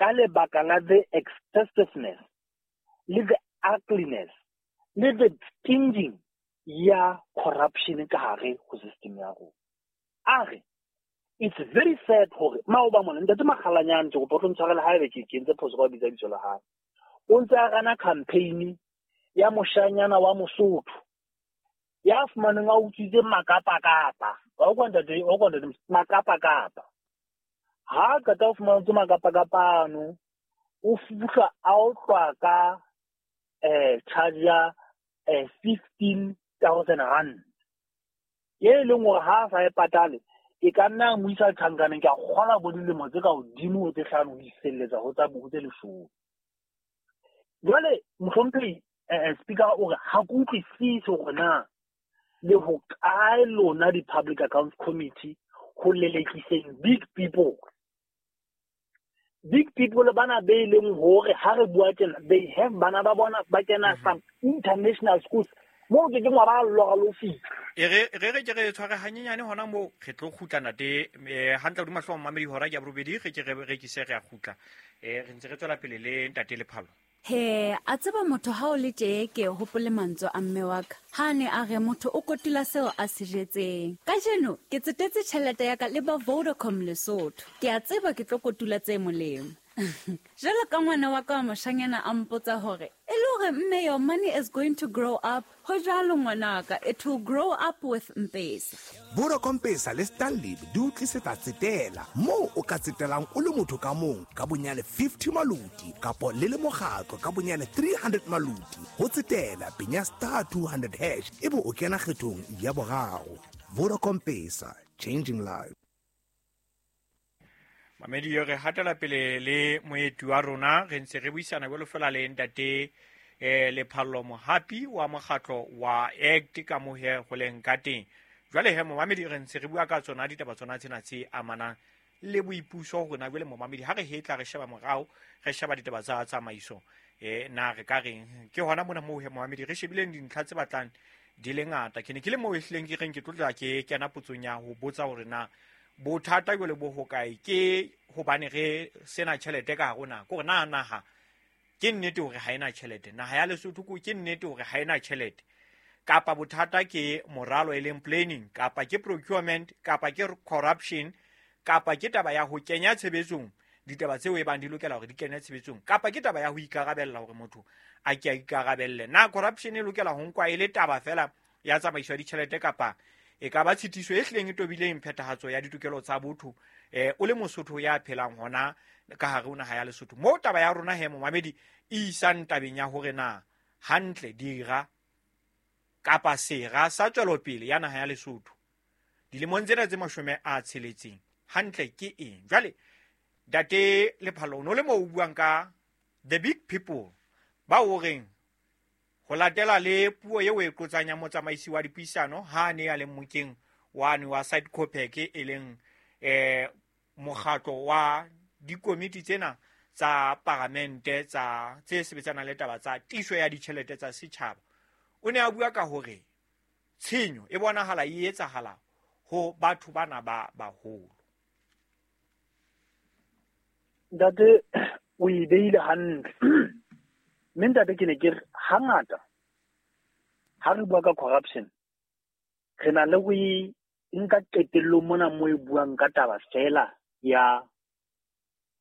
Ka lebaka la the excessiveness le the ugliness le the stinging ya corruption ka hare ho system ya rona. A re it's very sad hore maoba mona ntate Makgalanyane, ke kopa o tlo ntshwarela haebe ke entse phoso ka ho bitsa bitso la hae, o ntse a rana campaign ya moshanyana wa Mosotho ya fumaneng a utswitse makapakapa. Wa utlwa ntate, wa utlwa ntate, makapakapa. Ha qeta ho fumana tse makapakapa ano, o fihlwa a otlwa ka charge ya R15 000, e leng hore ha a sa e patale e ka nna mo isa tjhankaneng, ke a kgola bo dilemo tse ka hodimo ho tse 5 ho iselletsa ho tsa ho tse 10. Jwale mohlomphehi speaker o re ha ke utlwisise hore na le hokae lona di-Public Accounts Committee ho lelekiseng big people. Big people bana be leng hore ha re bua tjena, they have bana ba bona ba kena some international schools moo ke keng wa ba lora le ho fihla. E re re re ke re tshware hanyenyane hona moo, re tlo kgutla ntate hantle hodima hlooho mamedi, hora ke ya 8, re ke re rekise, re a kgutla. Re ntse re tswela pele le ntate Lephalo. He, a tseba motho ha o le tje, ke hopole mantswe a mme wa ka ha ne a re motho o kotula seo a se jetseng. Kajeno ke tsetetse tjhelete ya ka le ba Vodacom Lesotho, ke a tseba ke tlo kotula tse molemo. Jwalo ka ngwana wa ka wa moshanyana a mpotsa hore e le hore, "Mme, your money is going to grow up." Ho jwalo ngwanaka, it will grow up with Mpesa. Vodacom Pesa le Stanlib di o tlisetsa tsetela moo o ka tsetelang o le motho ka mong ka bonyane 50 maloti kapo le le mokgatlo ka bonyane 300 maloti. Ho tsetela, penya *200# ebe o kena kgethong ya boraro. Vodacom Pesa, changing lives. Mamedi, re hatela pele le moeti wa rona, re ntse re buisana jwalo fela le ntate Lephallo Mohapi wa mokgatlo wa ACT ka mohe go leng ka teng. Jwale he momamedi, re ntse re bua ka tsona ditaba tsona tsena tse amanang le boipuso. Rona jwale momamedi, ha re hetla re sheba morao, re sheba ditaba tsa tsamaiso, na re ka reng ke hona mona moo he momamedi re shebileng dintlha tse batlang di le ngata. Ke ne ke le moo ehlileng ke reng ke tlotla ke kena potsong ya ho botsa hore na bothata jwale bo hokae, ke hobane re sena tjhelete ka hare ho naha, kore na naha ke nnete hore ha ena tjhelete, naha ya Lesotho ke nnete hore ha ena tjhelete, kapa bothata ke moralo e leng planning, kapa ke procurement, kapa ke corruption, kapa ke taba ya ho kenya tshebetsong ditaba tseo e bang di lokela hore di kene tshebetsong, kapa ke taba ya ho ikarabella, hore motho a ke a ikarabelle. Na corruption e lokela ho nkwa e le taba fela ya tsamaiso ya ditjhelete, kapa e ka ba tshitiso e hlileng e tobileng phethahatso ya ditokelo tsa botho o le Mosotho ya phelang hona ka hare ho naha ya Lesotho? Moo taba ya rona he momamedi e isang tabeng ya hore na hantle dira kapa sera sa tswelopele ya naha ya Lesotho dilemong tsena tse 60 hantle ke eng. Jwale ntate Lephalo, o no le moo o buang ka the big people ba o reng ho latela le puo eo e qotsang ya motsamaisi wa dipuisano ha a ne a le mokeng wane wa SADCOPAC, e leng mokgatlo wa dikomiti tsena tsa paramente tsa tse sebetsanang le taba tsa tiso ya ditjhelete tsa setjhaba, o ne a bua ka hore tshenyo e bonahala e etsahala ho batho bana ba baholo. Ntate, o e beile hantle, mme ntate, ke ne ke re hangata ha re bua ka corruption re na le ho e nka qetellong mona mo e buang ka taba fela ya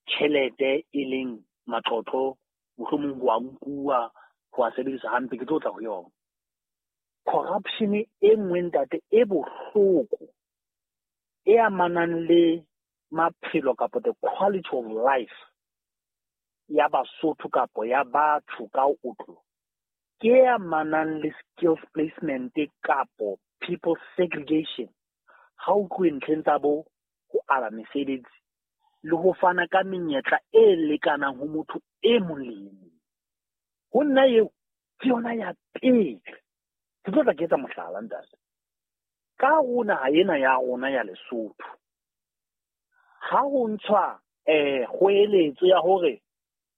tjhelete, e leng matlotlo, mohlomong ho a nkuwa, ho a sebedisa hampe. Ke tlo tla ho yona corruption e nngwe, ntate, e bohloko e amanang le maphelo kapa the quality of life ya Basotho kapo ya batho ka otlo, ke e amanang le skills placement kapo people segregation. Ha o tluwe ntlheng tsa bo ho aba mesebetsi le ho fana ka menyetla e lekanang ho motho e mong le e mong, ho nna eo ke yona ya pele. Ke tlo tla ke etsa mohlala, ntate. Ka ho naha ena ya rona ya Lesotho, ha ho ntshwa kgoeletso ya hore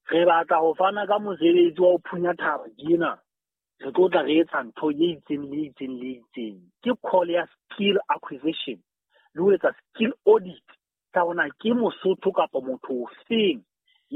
re batla ho fana ka mosebetsi wa ho phunya thaba tjena, re tlo tla re etsa ntho e itseng le itseng le itseng, ke call ya skill acquisition le ho etsa skill audit tsa hona ke Mosotho kapa motho ofeng.